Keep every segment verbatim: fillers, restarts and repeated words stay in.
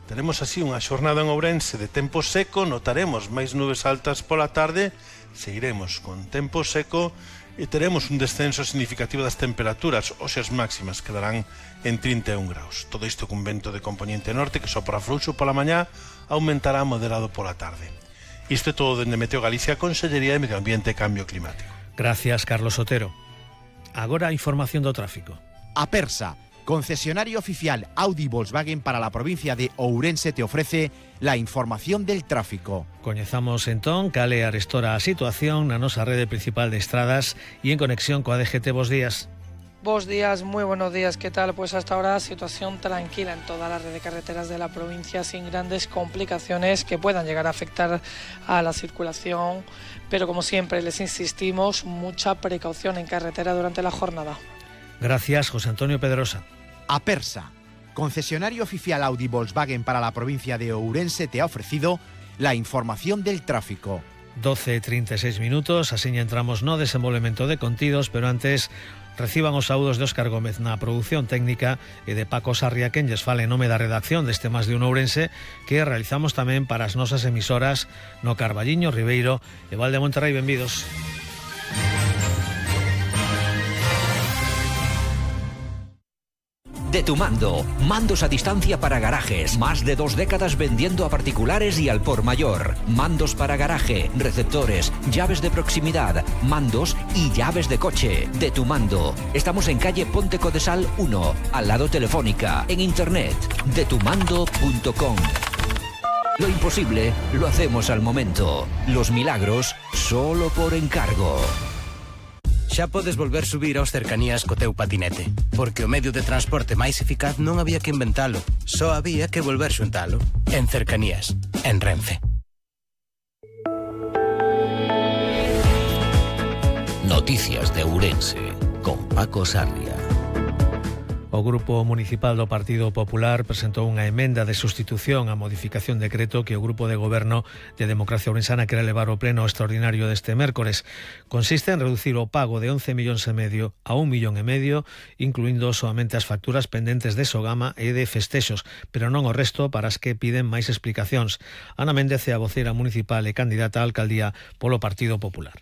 Teremos así unha xornada en Ourense de tempo seco, notaremos máis nubes altas pola tarde, seguiremos con tempo seco e teremos un descenso significativo das temperaturas, hoxe as máximas quedarán en trinta e un graus. Todo isto con vento de componente norte que sopra fluxo pola mañá, aumentará moderado pola tarde. Isto é todo dende Meteo Galicia, Consellería de Medio Ambiente e Cambio Climático. Gracias, Carlos Otero. Agora a información do tráfico. Apersa, concesionario oficial Audi Volkswagen para la provincia de Ourense, te ofrece la información del tráfico. Coñezamos entón cal é arestora a situación na nosa rede principal de estradas e en conexión coa D G T. Bos días. Bos días, muy buenos días, ¿qué tal? Pues hasta ahora situación tranquila en toda la red de carreteras de la provincia, sin grandes complicaciones que puedan llegar a afectar a la circulación, pero como siempre les insistimos, mucha precaución en carretera durante la jornada. Gracias, José Antonio Pedrosa. Apersa, concesionario oficial Audi Volkswagen para la provincia de Ourense, te ha ofrecido la información del tráfico. doce e trinta e seis minutos, así entramos no desenvolvemento de contidos, pero antes reciban os saúdos de Óscar Gómez na produción técnica e de Paco Sarria, quen lles fale en nome da redacción deste Más de un Ourense, que realizamos tamén para as nosas emisoras no Carballiño, Ribeiro e Val de Monterrey. Benvidos. De tu mando, mandos a distancia para garajes, más de dos décadas vendiendo a particulares y al por mayor. Mandos para garaje, receptores, llaves de proximidad, mandos y llaves de coche. De tu mando. Estamos en calle Ponte Codesal uno, al lado Telefónica, en internet, de tu mando punto com. Lo imposible lo hacemos al momento. Los milagros solo por encargo. Xa podes volver subir aos cercanías co teu patinete, porque o medio de transporte máis eficaz non había que inventalo, só había que volver xuntalo. En Cercanías, en Renfe. Noticias de Ourense, con Paco Sarria. O Grupo Municipal do Partido Popular presentou unha emenda de sustitución á modificación de decreto que o Grupo de Goberno de Democracia Ourensana quere levar ao pleno extraordinario deste mércores. Consiste en reducir o pago de once millóns e medio a un millón e medio, incluindo soamente as facturas pendentes de Sogama e de festexos, pero non o resto para as que piden máis explicacións. Ana Méndez é a voceira municipal e candidata á alcaldía polo Partido Popular.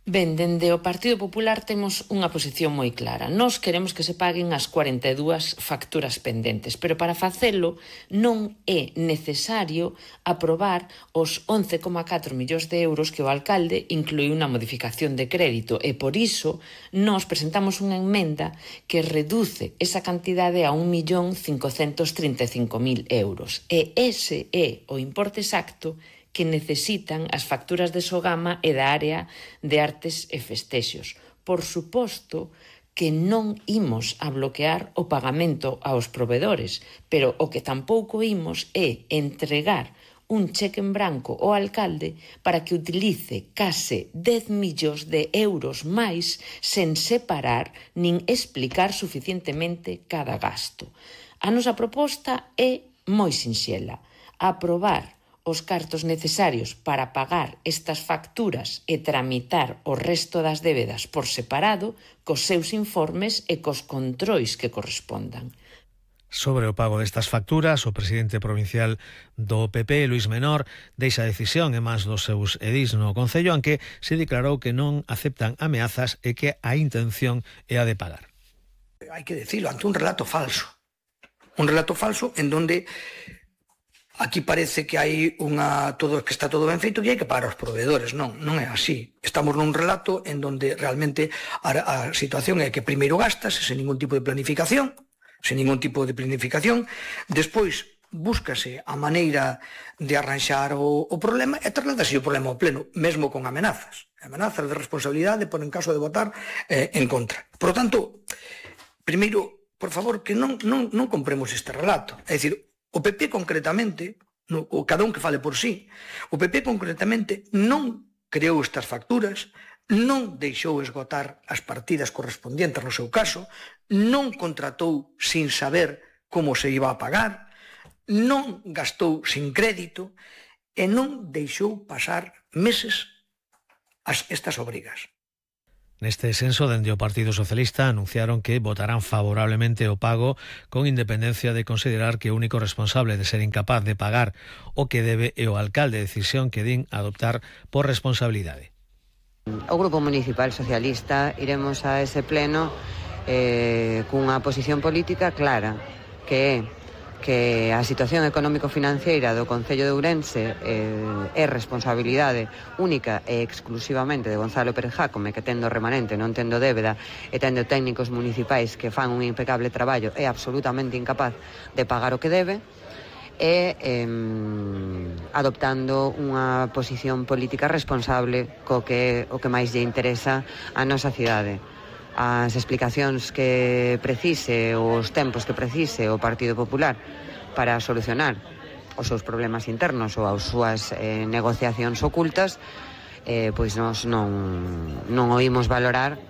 Ben, dende o Partido Popular temos unha posición moi clara. Nós queremos que se paguen as cuarenta e dúas facturas pendentes, pero para facelo non é necesario aprobar os once coma catro millóns de euros que o alcalde incluiu na modificación de crédito, e por iso nós presentamos unha emenda que reduce esa cantidade a un millón cincocentos trinta e cinco mil euros. E ese é o importe exacto que necesitan as facturas de Sogama e da área de artes e festexos. Por suposto que non imos a bloquear o pagamento aos provedores, pero o que tampouco imos é entregar un cheque en branco ao alcalde para que utilice case dez millóns de euros máis sen separar nin explicar suficientemente cada gasto. A nosa proposta é moi sinxela: aprobar os cartos necesarios para pagar estas facturas e tramitar o resto das débedas por separado, cos seus informes e cos controis que correspondan. Sobre o pago destas facturas, o presidente provincial do P P, Luís Menor, deixa a decisión e máis dos seus edís no Concello, aunque se declarou que non aceptan ameazas e que a intención é a de pagar. Hai que decirlo, ante un relato falso. Un relato falso en donde aquí parece que hai unha todo que está todo ben feito e hai que pagar aos proveedores. Non, non é así. Estamos nun relato en donde realmente a, a situación é que primeiro gastas sen ningún tipo de planificación, sen ningún tipo de planificación, despois búscase a maneira de arranxar o, o problema e trasladase o problema ao pleno, mesmo con amenazas. Amenazas de responsabilidade por en caso de votar eh, en contra. Por lo tanto, primeiro, por favor, que non, non, non compremos este relato. É dicir, o P P concretamente, no, o cada un que fale por sí, o P P concretamente non creou estas facturas, non deixou esgotar as partidas correspondientes no seu caso, non contratou sin saber como se iba a pagar, non gastou sin crédito e non deixou pasar meses as, estas obrigas. Neste senso, dende o Partido Socialista anunciaron que votarán favorablemente o pago con independencia de considerar que o único responsable de ser incapaz de pagar o que debe é o alcalde, decisión que din adoptar por responsabilidade. O Grupo Municipal Socialista iremos a ese pleno eh, cunha posición política clara, que é que a situación económico-financeira do Concello de Ourense eh, é responsabilidade única e exclusivamente de Gonzalo Pérez Jácome, que tendo remanente, non tendo débeda e tendo técnicos municipais que fan un impecable traballo, é absolutamente incapaz de pagar o que debe, e eh, adoptando unha posición política responsable co que o que máis lle interesa a nosa cidade. As explicacións que precise, os tempos que precise o Partido Popular para solucionar os seus problemas internos ou as súas eh, negociacións ocultas, eh, pois nós non, non oímos valorar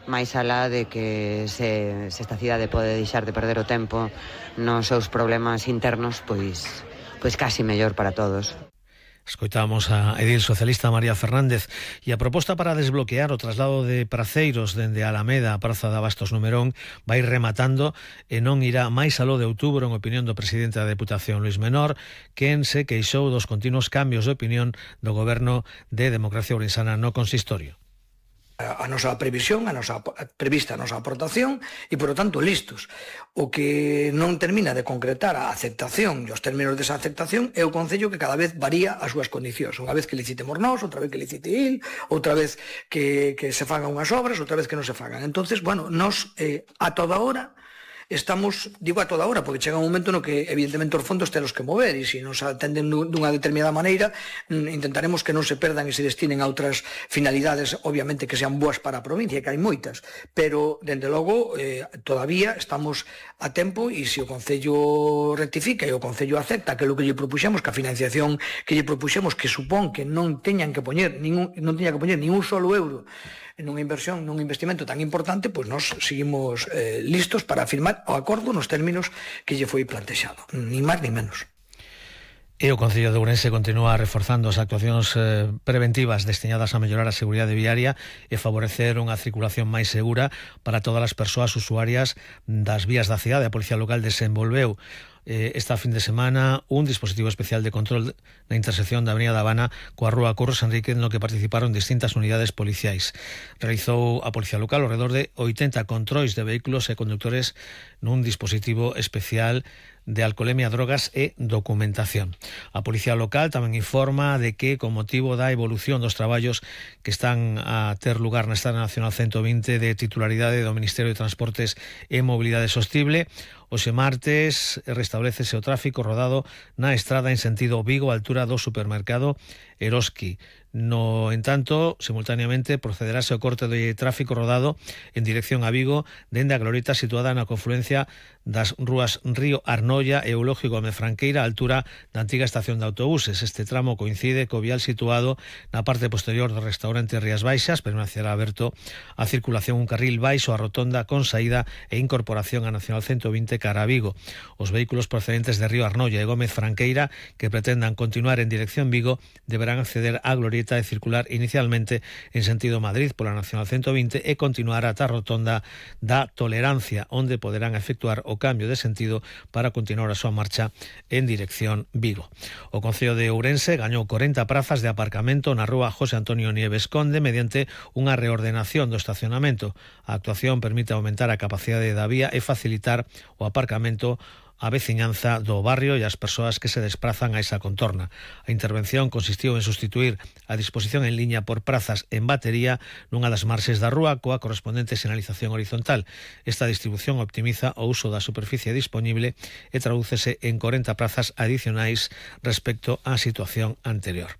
máis alá de que se, se esta cidade pode deixar de perder o tempo nos seus problemas internos, pois, pois casi mellor para todos. Escoitamos a edil socialista María Fernández e a proposta para desbloquear o traslado de praceiros dende Alameda a Praza de Abastos Numerón vai rematando e non irá máis aló de outubro, en opinión do presidente da Deputación, Luís Menor, quen se queixou dos continuos cambios de opinión do goberno de Democracia Ourensana no consistorio. A nosa previsión, a nosa prevista a nosa aportación e, por lo tanto, listos. O que non termina de concretar a aceptación e os términos desa aceptación é o Concello que cada vez varía as súas condicións. Unha vez que licitemos nós, outra vez que licite il, outra vez que, que se fagan unhas obras, outra vez que non se fagan. Entonces, bueno, nós eh, a toda hora estamos, digo a toda hora, porque chega un momento no que evidentemente os fondos telos que mover e se nos atenden dunha determinada maneira intentaremos que non se perdan e se destinen a outras finalidades, obviamente que sean boas para a provincia, que hai moitas, pero dende logo eh, todavía estamos a tempo e se o Concello rectifica e o Concello acepta que é o que lle propuxemos, que a financiación que lle propuxemos, que supón que non teñan que poñer ningún, non teña que poñer ningún solo euro nunha inversión, nun investimento tan importante, pois nós seguimos eh, listos para firmar o acordo nos términos que lle foi plantexado, ni máis ni menos. E o Concello de Ourense continúa reforzando as actuacións eh, preventivas destinadas a mellorar a seguridade viaria e favorecer unha circulación máis segura para todas as persoas usuarias das vías da cidade. A Policía Local desenvolveu eh, esta fin de semana un dispositivo especial de control na intersección da Avenida da Habana coa Rúa Curros Enrique, no que participaron distintas unidades policiais. Realizou a Policía Local alrededor de oitenta controis de vehículos e conductores nun dispositivo especial de alcoholemia, drogas e documentación. A Policía Local tamén informa de que, con motivo da evolución dos traballos que están a ter lugar na Estrada Nacional ciento vinte de titularidade do Ministerio de Transportes e Mobilidade Sostible, hoxe martes restablecese o tráfico rodado na estrada en sentido Vigo, a altura do supermercado Eroski. No entanto, simultaneamente procederase o corte de tráfico rodado en dirección a Vigo dende a glorieta situada na confluencia das rúas Río Arnoia e Eulogio Gómez Franqueira, a altura da antiga estación de autobuses. Este tramo coincide co vial situado na parte posterior do restaurante Rías Baixas, permanecerá aberto a circulación un carril baixo a rotonda con saída e incorporación a Nacional ciento vinte cara a Vigo. Os vehículos procedentes de Río Arnoia e Gómez Franqueira que pretendan continuar en dirección Vigo deberán acceder á glorieta e circular inicialmente en sentido Madrid pola Nacional ciento vinte e continuar ata a rotonda da Tolerancia, onde poderán efectuar o cambio de sentido para continuar a súa marcha en dirección Vigo. O Concello de Ourense gañou corenta prazas de aparcamento na rúa José Antonio Nieves Conde mediante unha reordenación do estacionamento. A actuación permite aumentar a capacidade da vía e facilitar o aparcamento a veciñanza do barrio e as persoas que se desprazan a esa contorna. A intervención consistiu en sustituir a disposición en liña por prazas en batería nunha das marxes da rúa coa correspondente sinalización horizontal. Esta distribución optimiza o uso da superficie disponible e tradúcese en corenta prazas adicionais respecto á situación anterior.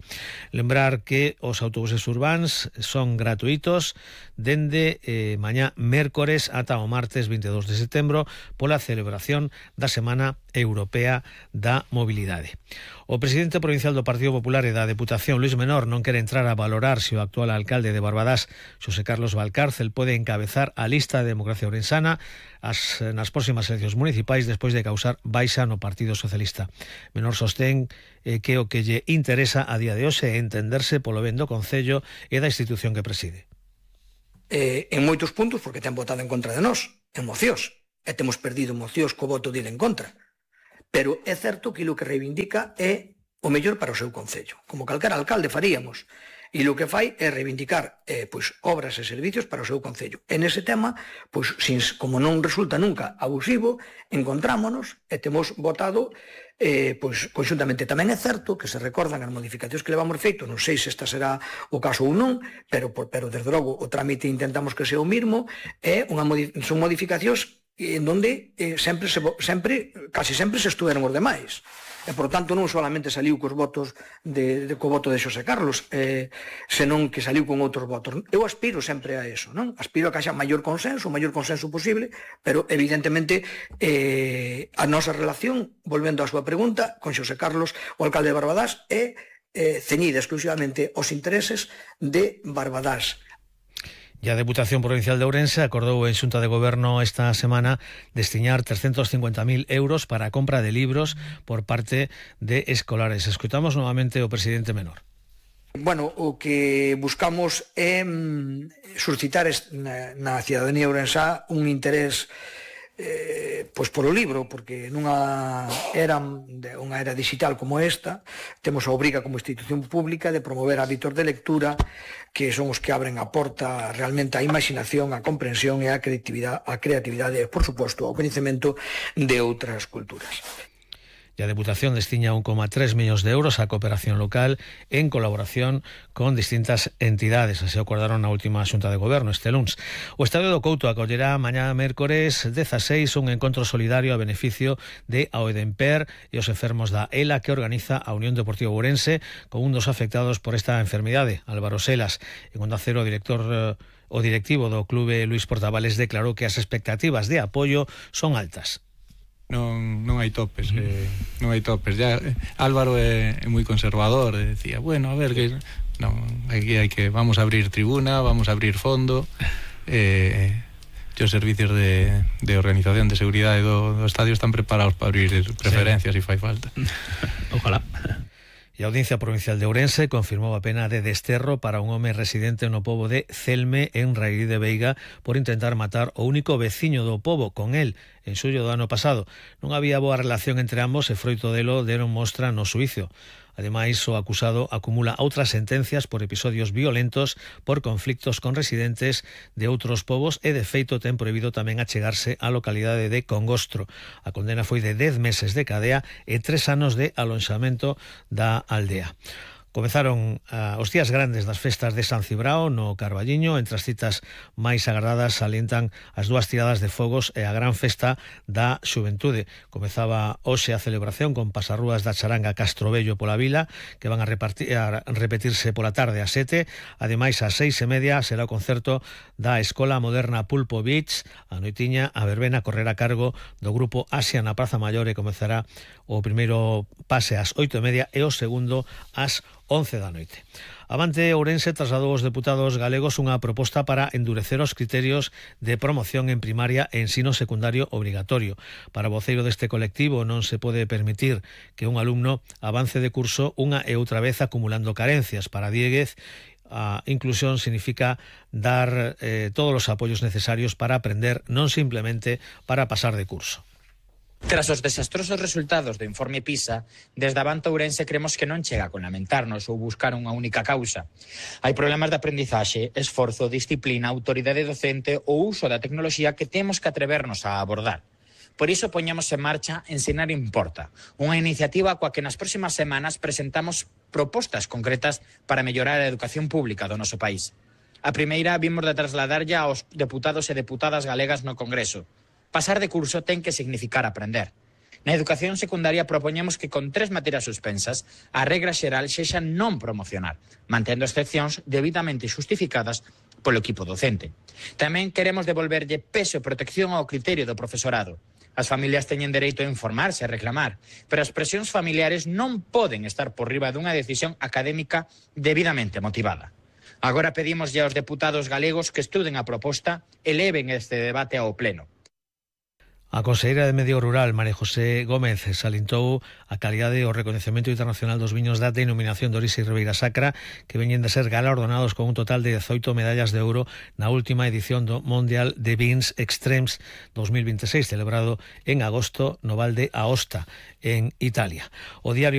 Lembrar que os autobuses urbáns son gratuitos dende eh, mañá mércores ata o martes vinte e dous de setembro pola celebración da Semana Europea da Mobilidade. O presidente provincial do Partido Popular e da Deputación, Luís Menor, non quere entrar a valorar se o actual alcalde de Barbadás, Xosé Carlos Valcárcel, pode encabezar a lista de Democracia Ourensana as, nas próximas eleccións municipais despois de causar baixa no Partido Socialista. Menor sostén eh, que o que lle interesa a día de hoxe é entenderse polo ben do Concello e da institución que preside. eh, en moitos puntos porque ten votado en contra de nós, en mocións, e temos perdido mocións co voto dele en contra. Pero é certo que o que reivindica é o mellor para o seu concello, como calquera alcalde faríamos. E o que fai é reivindicar eh, pois, obras e servicios para o seu concello. E nese tema, pois, sin, como non resulta nunca abusivo, encontrámonos e temos votado eh, pois, conxuntamente. Tamén é certo que se recordan as modificacións que levamos feito, non sei se esta será o caso ou non, pero, pero desde logo o trámite intentamos que sea o mismo, é unha modi son modificacións en donde eh, sempre, se, sempre, casi sempre se estuveron os demais. E, por tanto, non solamente saliu cos votos de, de, co voto de Xosé Carlos, eh, senón que saliu con outros votos. Eu aspiro sempre a eso, non? Aspiro a que haxa maior consenso, o maior consenso posible, pero, evidentemente, eh, a nosa relación, volvendo á súa pregunta, con Xosé Carlos, o alcalde de Barbadás, é eh, ceñida exclusivamente aos intereses de Barbadás. E a Deputación Provincial de Ourense acordou en Xunta de Goberno esta semana destinar trescentos cincuenta mil euros para a compra de libros por parte de escolares. Escoitamos novamente o presidente Menor. Bueno, o que buscamos é mm, suscitar na, na cidadanía ourensá un interés eh, pois polo libro, porque nunha era, unha era digital como esta, temos a obriga como institución pública de promover hábitos de lectura que son os que abren a porta realmente á imaginación, á comprensión e á creatividade, á creatividade e, por suposto, ao coñecemento de outras culturas. E a Deputación destiña un coma tres millóns de euros á cooperación local en colaboración con distintas entidades. Así acordaron na última Xunta de Goberno este luns. O Estadio do Couto acollerá mañá mércores dezaseis un encontro solidario a beneficio de Aoedemper e os enfermos da ELA que organiza a Unión Deportiva Ourense con un dos afectados por esta enfermidade, Álvaro Selas. En Onda Cero, o director o directivo do clube Luis Portavales declarou que as expectativas de apoio son altas. Non, non hai topes, eh, non hai topes. Ya, eh, Álvaro é, é moi conservador, e decía, bueno, a ver, que non, aquí hai que, vamos a abrir tribuna, vamos a abrir fondo, eh, e os servicios de, de organización de seguridade do, do estadio están preparados para abrir preferencias se sí. fai falta. Ojalá. E a Audiencia Provincial de Ourense confirmou a pena de desterro para un home residente no pobo de Celme, en Rairí de Veiga, por intentar matar o único veciño do pobo con el en xullo do ano pasado. Non había boa relación entre ambos e froito delo deron mostra no xuízo. Ademais, o acusado acumula outras sentencias por episodios violentos por conflictos con residentes de outros povos e, de feito, ten prohibido tamén achegarse á localidade de Congostro. A condena foi de dez meses de cadea e tres anos de alonxamento da aldea. Comezaron uh, os días grandes das festas de San Cibrao no Carballiño. Entre as citas máis agardadas salientan as dúas tiradas de fogos e a gran festa da xuventude. Comezaba hoxe a celebración con pasarrúas da charanga Castrobello pola vila, que van a, repartir, a repetirse pola tarde a sete. Ademais, ás seis e media será o concerto da Escola Moderna Pulpo Beach. A noitiña, a verbena correrá a cargo do grupo Asia na Praza Maior e comezará o primeiro pase ás oito e media e o segundo ás once da noite. Avante Ourense trasladou aos deputados galegos unha proposta para endurecer os criterios de promoción en primaria e ensino secundario obrigatorio. Para o voceiro deste colectivo non se pode permitir que un alumno avance de curso unha e outra vez acumulando carencias. Para Dieguez, a inclusión significa dar eh, todos os apoios necesarios para aprender, non simplemente para pasar de curso. Tras os desastrosos resultados do informe PISA, desde Avante Ourense cremos que non chega con lamentarnos ou buscar unha única causa. Hai problemas de aprendizaxe, esforzo, disciplina, autoridade docente ou uso da tecnoloxía que temos que atrevernos a abordar. Por iso poñamos en marcha Ensinar Importa, unha iniciativa coa que nas próximas semanas presentamos propostas concretas para mellorar a educación pública do noso país. A primeira vimos de trasladarlle aos deputados e deputadas galegas no Congreso. Pasar de curso ten que significar aprender. Na educación secundaria propoñemos que con tres materias suspensas a regra xeral sexa non promocionar, mantendo excepcións debidamente justificadas polo equipo docente. Tamén queremos devolverlle peso e protección ao criterio do profesorado. As familias teñen dereito a informarse e reclamar, pero as presións familiares non poden estar por riba dunha decisión académica debidamente motivada. Agora pedimos aos deputados galegos que estuden a proposta e leven este debate ao pleno. A conselleira de Medio Rural, María José Gómez, salientou a calidade e o recoñecemento internacional dos viños da denominación de orixe Ribeira Sacra, que veñen de ser galardonados con un total de dezoito medallas de ouro na última edición do Mundial de Vins Extremes dos mil veintiséis, celebrado en agosto no Val de Aosta, en Italia. O diario